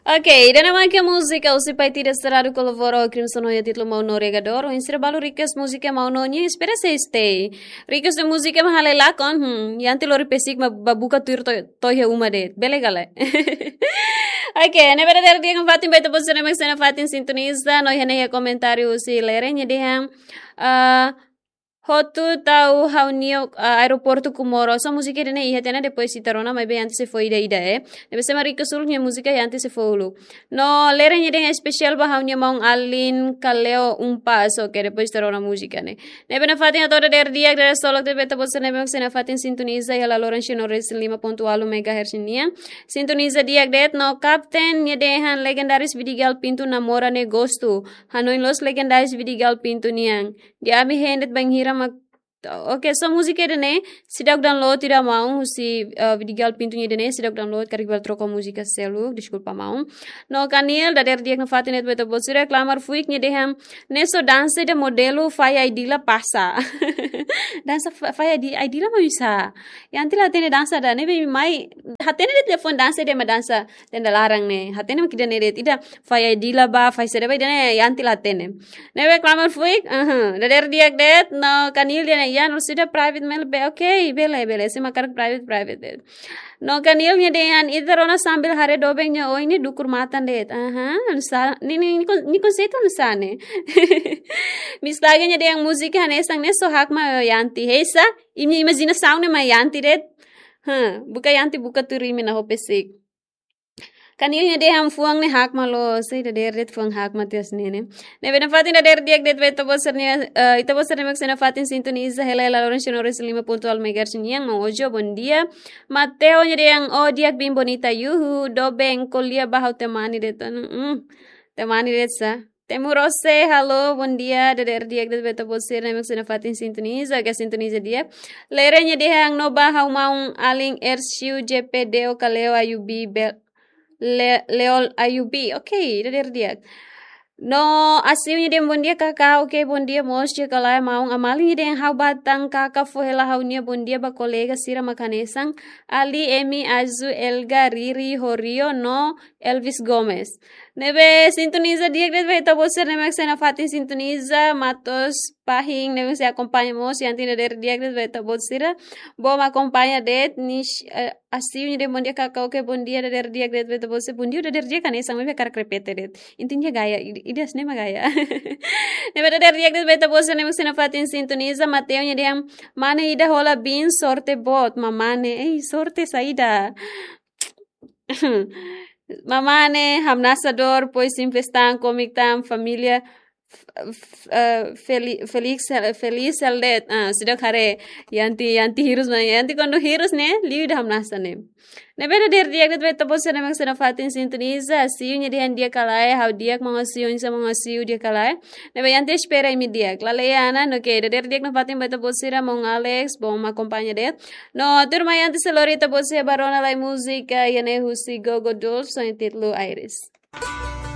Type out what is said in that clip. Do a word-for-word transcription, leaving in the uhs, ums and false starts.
Ok, ida-ne'e mak múzika husi Paitida Serrado kolabora ho Crimson ho nia títulu Maun No Regador. Oinsá balu request múzika Maun No nian, espera sei stay. Request múzika mak hale lakon, hmm, Yanti lori pesik mak bá buka tuir to'o, to'o iha uma de'it. Bele ka lae? Ok, ne'ebé dadeer di'ak nafatin ba ita-boot sira ne'ebé sei nafatin sintoniza, no iha ne'e iha komentáriu husi Lere nia dehan, ah, hotu tau ha'u-nia, ah, aeroportu Comoro. So múzika ida-ne'e iha tiha ona, depois ita rona, maibé Yanti sei fó ida-ida, eh. Ne'ebé se marika sul nia múzika Yanti sei fó uluk. No Lere nia dehan espesiál ba ha'u-nia maun-alin Kaleo Umpas, ok, depois ita rona múzika ne'e. Ne'ebé nafatin atu dadeer di'ak, dadeer solok de'it ba ita-boot sira ne'ebé sei nafatin sintoniza iha la loron cem resin lima ponto ualu megahertz nian. Sintoniza di'ak de'it no Kapten nia dehan legendárius Vidigal Pinto namora ne'e gostu. Hanoin loos legendárius Vidigal Pinto nian. Di'ak, ami hein de'it bainhira mak, ok, so múzika ida-ne'e seidauk download ida maun husi, eh, Vidigal Pinto nia ida-ne'e seidauk download, karik bele troka múzika seluk, deskulpa maun. No Kanil, dadeer di'ak nafatin de'it ba ita-boot sira, Klamar Fuik nia dehan, ne'e so dansa ida modelu Fai Aidila pasa. Dansa Fa-, Fai Aidi-, Aidila mak oinsá? Yanti la hatene dansa ida-ne'e, be mai, hatene de'it liafuan dansa ida mak dansa tenda laran ne'e. Hatene mak ida-ne'e de'it, ida Fai Aidila bá, Fai saida bá, ida-ne'e Yanti la hatene. Ne'ebé Klamar Fuik, aha, dadeer di'ak de'it, no Kanil dehan, ya, no sudah private mail be, ok, bele, bele, se mak karik private, private de'it. No Kanil nia dehan, ita rona sambil haree doben nia oin ne'e dukur matan de'it. Aha, oinsá, nia, nia, nia kon-, nia konseitu oinsá ne'e. Miss Laga nia dehan múzika hanesan ne'e so hakmatek Yanti. Heisa, imi-, imajinasaun ne'e mak Yanti de'it. Hah, buka Yanti, buka tuir imi-nia ho pesik. Kanil nia dehan fuan ne'e hakmatek loos, sei dadeer de'it fuan hakmatek tiha ona ne'e. Ne'ebé nafatin dadeer di'ak de'it ba ita-boot sira ne'e, eh, ita-boot sira ne'ebé sei nafatin sintoniza hela iha la loron cem resin lima ponto ualu megahertz nian, Maun Ojo, bondia. Mateo nia dehan, oh, di'ak biin bonita, yuhu, doben, ko'alia ba ha'u temani de'it ona, hmm, temani de'it sá. Temu Rose, halo, bondia, dadeer di'ak de'it ba ita-boot sira ne'ebé sei nafatin sintoniza, ka sintoniza di'ak. Lere nia dehan no ba ha'u maun-alin Ersiu J P D O Kaleo Ayubi Bel-, Le-, Leol Ayubi, ok, dadeer di'ak. No Asiu nia dehan bondia Kaká, ok, bondia mós di'ak ka lae. Maun Amali nia dehan ha'u ba tan Kaká fó hela ha'u-nia bondia ba kolega sira mak hanesan Ali, Emi, Azu, Elga, Riri, Horio, no Elvis Gomes. Ne'ebé sintoniza di'ak de'it ba ita-boot sira ne'ebé sei nafatin sintoniza, Matos Pahin ne'ebé sei akompaña mós, Yanti dadeer di'ak de'it ba ita-boot sira. Boot mak akompaña de'it, Nish, eh, Asiu nia dehan bondia Kaká, ok, bondia, dadeer di'ak de'it ba ita-boot sira. Bondia dadeer di'ak hanesan, maibé hakarak repete de'it. Intinya gaya, i-, ida-ne'e mak gaya. Ne'ebé dadeer di'ak de'it ba ita-boot sira ne'ebé sei nafatin sintoniza, Mateo nia dehan, mane ida hola biin sorte boot, mamane, ei, sorte saida. Mamane, hamnasa dór, pois sin festan, komik tan, família, f-, f-, eh, feli-, felix, feliz hela de'it. Ah, seidauk haree, Yanti, Yanti hirus mak, Yanti kuandu hirus ne'e, liu ida hamnasa ne'e. Ne'ebé dadeer di'ak de'it ba ita-boot sira ne'ebé sei nafatin sintoniza, Asiu nia dehan di'ak ka lae, ha'u di'ak, maun Asiu, oinsá maun Asiu, di'ak ka lae. Ne'ebé Yanti espera imi di'ak. Lalehan ona, ok, dadeer di'ak nafatin ba ita-boot sira, maun Alex, boot mak akompaña de'it. No tuirmai Yanti sei lori ita-boot sira bá rona lai múzika, iha ne'e husi Gogo Dolls, ho nia títulu Iris.